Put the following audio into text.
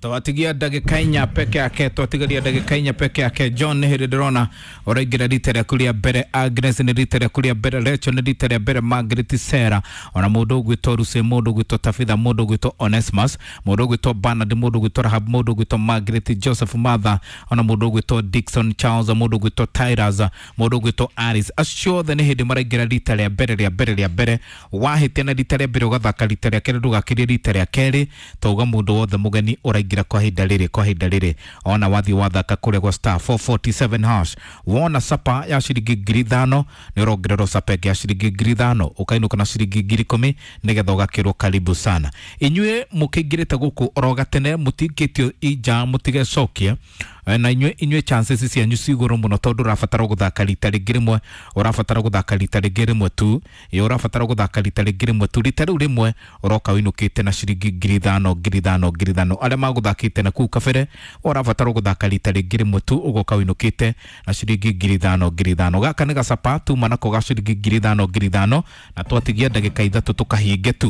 Twatigia ndagĩka 4 peke yake, twatigaria ndagĩka 4 peke yake. John, nĩ hĩndĩ ndĩrona ũraingĩra rita rĩaku rĩa mbere, Agnes nĩ rita rĩaku rĩa mbere, Rachel nĩ rita rĩa mbere, Margaret Sarah, ona mũndũ ũgwĩtwo Lucy, mũndũ ũgwĩtwo Tabitha, mũndũ ũgwĩtwo Onesmus, mũndũ ũgwĩtwo Bernard, mũndũ ũgwĩtwo Rahab, mũndũ ũgwĩtwo Margaret Joseph Martha, ona mũndũ ũgwĩtwo Dickson Charles, mũndũ ũgwĩtwo Tyrus, mũndũ ũgwĩtwo Alice. Acio othe nĩ hĩndĩ maraingĩra rita rĩa mbere rĩa mbere rĩa mbere. Wahĩtia na rita rĩa mbere ũgathaka rita rĩa kerĩ, ndũgakĩrie rita rĩa kerĩ. Twauga mũndũ wothe mũgeni ũraingĩra kwa ihinda rĩrĩ, kwa ihinda rĩrĩ, ona wathiĩ wathaka kũrĩa gwa *447# wona sapa ya ciringi 5,000, nĩ ũrongererwo sapa ĩngĩ ya ciringi 5,000, ũkainũka na ciringi 10,000, nĩgetha ũgakĩrwo karibu sana. Inyuĩ mũkĩingĩrĩte gũkũ oro gatene, mũtingĩtio inja, mũtigecokie na inyuĩ chances cianyu ci igũrũ mũno, tondũ ũrabatara gũthaka rita rĩngĩ rĩmwe, ũrabatara gũthaka rita rĩngĩ rĩmwe tu. Ĩ, ũrabatara gũthaka rita rĩngĩ rĩmwe tu. Rita rĩu rĩmwe ũroka ũinũkĩte na ciringi 5,000, 5,000, 5,000. Arĩa magũthakĩte na kũu kabere, ũrabatara gũthaka rita rĩngĩ rĩmwe tu, ũgoka ũinũkĩte na ciringi 5,000, 5,000. Gaka nĩ gacapa tuma nako ga ciringi 5,000, 5,000, na twatigia ndagĩka 3 tũkahinge tu.